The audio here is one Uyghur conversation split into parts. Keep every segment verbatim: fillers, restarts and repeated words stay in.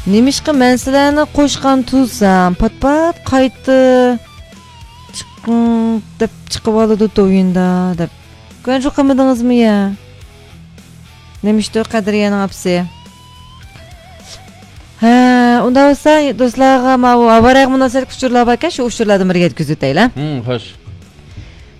نېمىشقا مەن سىلەرنى قوشقان تۇرسام، پات-پات قايتا چىقىڭ دەپ چىقىۋالىدۇ تويۇندا دەپ. كونترول قىلمىدىڭىزمۇ يا؟ نېمىشتۇ قەدرىيەنىڭ ئاپىسى؟ ھە، ئۇنداق بولسا، دوستلارغا ماۋۇ ئاۋارەگە مۇناسىۋەتلىك ئۇچۇرلار باركەن، شۇ ئۇچۇرلاردىن بىرگە يەتكۈزۈۋېتەيلى. ھىم، خوش.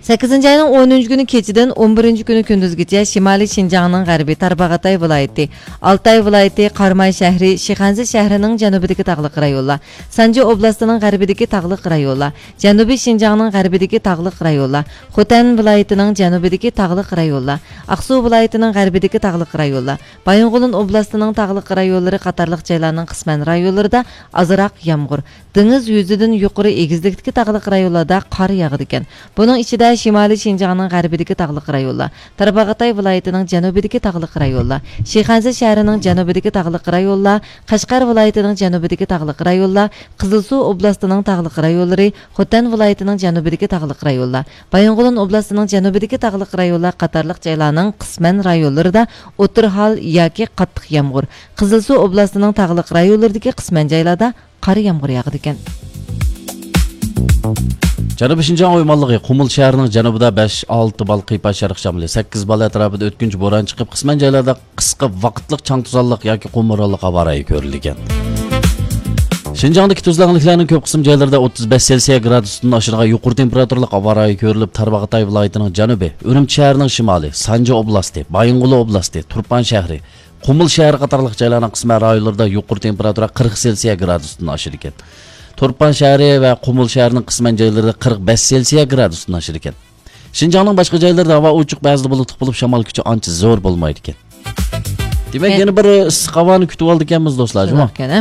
سەككىزىنچى ئاينىڭ ئونىنچى كۈنى كېچىدىن ئون بىرىنچى كۈنى كۈندۈزگىچە شىمالىي شىنجاڭنىڭ غەربىي تارباغاتاي ۋىلايىتى، ئالتاي ۋىلايىتى، قاراماي شەھىرى، شىخەنزە شەھىرىنىڭ جەنۇبىدىكى تاغلىق رايونلار، سانجى ئوبلاستىنىڭ غەربىدىكى تاغلىق رايونلار، جەنۇبىي شىنجاڭنىڭ غەربىدىكى تاغلىق رايونلار، خوتەن ۋىلايىتىنىڭ جەنۇبىدىكى تاغلىق رايونلار، ئاقسۇ ۋىلايىتىنىڭ غەربىدىكى تاغلىق رايونلار، بايىنغولىن ئوبلاستىنىڭ تاغلىق رايونلىرى قاتارلىق جايلارنىڭ قىسمەن رايونلىرىدا ئازراق يامغۇر، دېڭىز يۈزىدىن يۇقىرى ئېگىزلىكتىكى تاغلىق رايونلاردا قار ياغىدىكەن. بۇنىڭ ئىچىدە شىمالىي شىنجاڭنىڭ غەربىدىكى تاغلىق رايونلار، تارباغاتاي ۋىلايىتىنىڭ جەنۇبىدىكى تاغلىق رايونلار، شىخەنزە شەھىرىنىڭ جەنۇبىدىكى تاغلىق رايونلار، قەشقەر ۋىلايىتىنىڭ جەنۇبىدىكى تاغلىق رايونلار، قىزىلسۇ ئوبلاستىنىڭ تاغلىق رايونلىرى، خوتەن ۋىلايىتىنىڭ جەنۇبىدىكى تاغلىق رايونلار، بايىنغولىن ئوبلاستىنىڭ جەنۇبىدىكى تاغلىق رايونلار قاتارلىق جايلارنىڭ قىسمەن رايونلىرىدا ئوتتۇرا ھال ياكى قاتتىق يامغۇر، قىزىلسۇ ئوبلاستىنىڭ تاغلىق رايونلىرىدىكى قىسمەن جايلاردا قار يامغۇر ياغىدىكەن. جەنۇبىي شىنجاڭ ئويمانلىقى قۇمۇل شەھىرىنىڭ جەنۇبىدا بەش ئالتە بال قىيپاش شەرق شامىلى، سەككىز بال ئەتراپىدا ئۆتكۈنچى بوران چىقىپ، قىسمەن جايلاردا قىسقا ۋاقىتلىق چاڭ توزانلىق ياكى قۇم بورانلىق ھاۋا رايى كۆرۈلگەن. شىنجاڭدىكى تۈزلەڭلىكلەرنىڭ كۆپ قىسىم جايلىرىدا ئوتتۇز بەش سېلسىيە گرادۇستىن ئاشىدىغان يۇقىرى تېمپېراتۇرىلىق ھاۋا رايى كۆرۈلۈپ، تارباغاتاي ۋىلايىتىنىڭ جەنۇبى، ئۈرۈمچى شەھىرىنىڭ شىمالى، سانجى ئوبلاستى، بايىنغولى ئوبلاستى، تۇرپان شەھىرى، قۇمۇل شەھىرى قاتارلىق جايلارنىڭ قىسمەن رايونلىرىدا يۇقىرى تېمپېراتۇرا قىرىق سېلسىيە گرادۇستىن ئاشىدىكەن. تۇرپان شەھىرى ۋە قۇمۇل شەھىرىنىڭ قىسمەن جايلىرىدا قىرىق بەش سېلسىيە گرادۇستىن ئاشىدىكەن. شىنجاڭنىڭ باشقا جايلىرىدا ھاۋا ئوچۇق، بەزىدە بۇلۇتلۇق بولۇپ، شامال كۈچى ئانچە زور بولمايدىكەن. دېمەك، يەنە بىر ئىسسىق ھاۋانى كۈتۈۋالىدىكەنمىز، دوستلار، جۇمۇ؟ شۇنداق ئىكەن، ھە.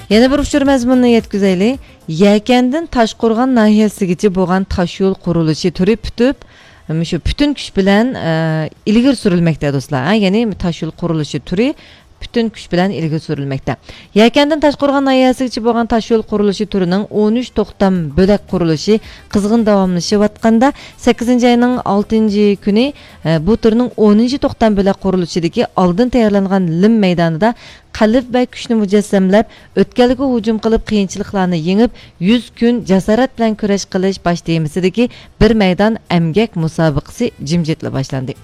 يەنە بىر ئۇچۇر مەزمۇنىنى يەتكۈزەيلى. يەكەندىن تاشقورغان ناھىيەسىگىچە بولغان تاشيول قۇرۇلۇشى تۈرى پۈتۈپ، مۇشۇ پۈتۈن كۈچ بىلەن، ئە، ئىلگىرى سۈرۈلمەكتە، دوستلار. ھە، يەنى تاشيول قۇرۇلۇشى تۈرى پۈتۈن كۈچ بىلەن ئىلگىرى سۈرۈلمەكتە. يەكەندىن تاشقورغان ناھىيەسىگىچە بولغان تاشيول قۇرۇلۇشى تۈرىنىڭ ئون ئۈچ توختام بۆلەك قۇرۇلۇشى قىزغىن داۋاملىشىۋاتقاندا، سەككىزىنچى ئاينىڭ ئالتىنچى كۈنى، ئە، بۇ تۈرنىڭ ئونىنچى توختام بۆلەك قۇرۇلۇشىدىكى ئالدىن تەييارلانغان لىم مەيدانىدا قەلب ۋە كۈچنى مۇجەسسەملەپ، ئۆتكەلگە ھۇجۇم قىلىپ، قىيىنچىلىقلارنى يېڭىپ، يۈز كۈن جاسارەت بىلەن كۈرەش قىلىش باش تېمىسىدىكى بىر مەيدان ئەمگەك مۇسابىقىسى جىمجىتلا باشلاندى.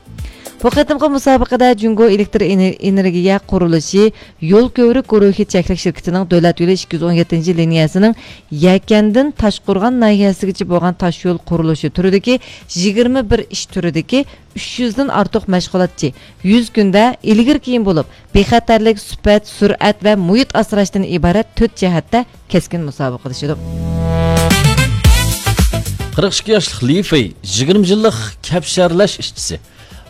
بۇ قېتىمقى مۇسابىقىدە جۇڭگو ئېلېكتر ئېنېر-، ئېنېرگىيە قۇرۇلۇشى يول كۆۋرۈك گۇرۇھى چەكلىك شىركىتىنىڭ دۆلەت يولى ئىككى يۈز ئون يەتتىنچى لىنىيەسىنىڭ يەكەندىن تاشقورغان ناھىيەسىگىچە بولغان تاشيول قۇرۇلۇشى تۈرىدىكى يىگىرمە بىر ئىش تۈرىدىكى ئۈچ يۈزدىن ئارتۇق مەشغۇلاتچى يۈز كۈندە ئىلگىرى كېيىن بولۇپ، بىخەتەرلىك، سۈپەت، سۈرئەت ۋە مۇھىت ئاسراشتىن ئىبارەت تۆت جەھەتتە كەسكىن مۇسابىقىلىشىدۇ. قىرىق ئىككى ياشلىق لى فېي، يىگىرمە يىللىق كەپشەرلەش ئىشچىسى.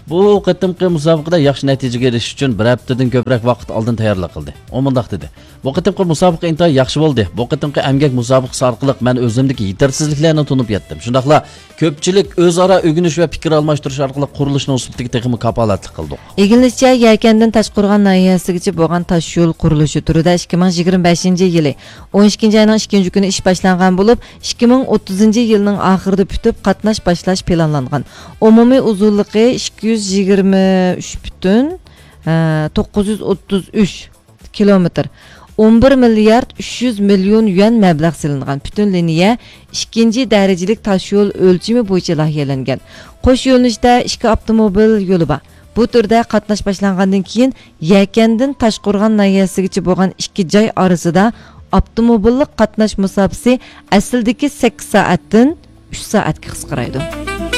بۇ قېتىمقى مۇسابىقىدە ياخشى نەتىجىگە ئېرىشىش ئۈچۈن بىر ھەپتىدىن كۆپرەك ۋاقىت ئالدىن تەييارلىق قىلدى. ئۇ مۇنداق دېدى: بۇ قېتىمقى مۇسابىقە ئىنتايىن ياخشى بولدى. بۇ قېتىمقى ئەمگەك مۇسابىقىسى ئارقىلىق مەن ئۆزۈمدىكى يېتەرسىزلىكلەرنى تونۇپ يەتتىم. شۇنداقلا كۆپچىلىك ئۆزئارا ئۆگىنىش ۋە پىكىر ئالماشتۇرۇش ئارقىلىق قۇرۇلۇشنىڭ سۈپىتىگە تېخىمۇ كاپالەتلىك قىلدۇق. ئىگىلىنىشىچە، يەكەندىن تاشقورغان ناھىيەسىگىچە بولغان تاشيول قۇرۇلۇشى تۈرىدە ئىككى مىڭ يىگىرمە بەشىنچى يىلى ئون ئىككىنچى ئاينىڭ ئىككىنچى كۈنى ئىش باشلانغان بولۇپ، ئىككى مىڭ ئوتتۇزىنچى يىلنىڭ ئاخىرىدا پۈتۈپ، قاتناش باشلاش پىلانلانغان. ئومۇمىي ئۇزۇنلۇقى ئىككى يۈز يىگىرمە ئۈچ پۈتۈن، ھە، توققۇز يۈز ئوتتۇز ئۈچ كىلومېتىر، ئون بىر مىليارد ئۈچ يۈز مىليون يۈەن مەبلەغ سېلىنغان پۈتۈن لىنىيە ئىككىنچى دەرىجىلىك تاشيول ئۆلچىمى بويىچە لايىھەلەنگەن. قوش يۆنىلىشتە ئىككى ئاپتوموبىل يولى بار. بۇ تۈردە قاتناش باشلانغاندىن كېيىن، يەكەندىن تاشقورغان ناھىيەسىگىچە بولغان ئىككى جاي ئارىسىدا ئاپتوموبىللىق قاتناش مۇساپىسى ئەسلىدىكى سەككىز سائەتتىن ئۈچ سائەتكە قىسقىرايدۇ.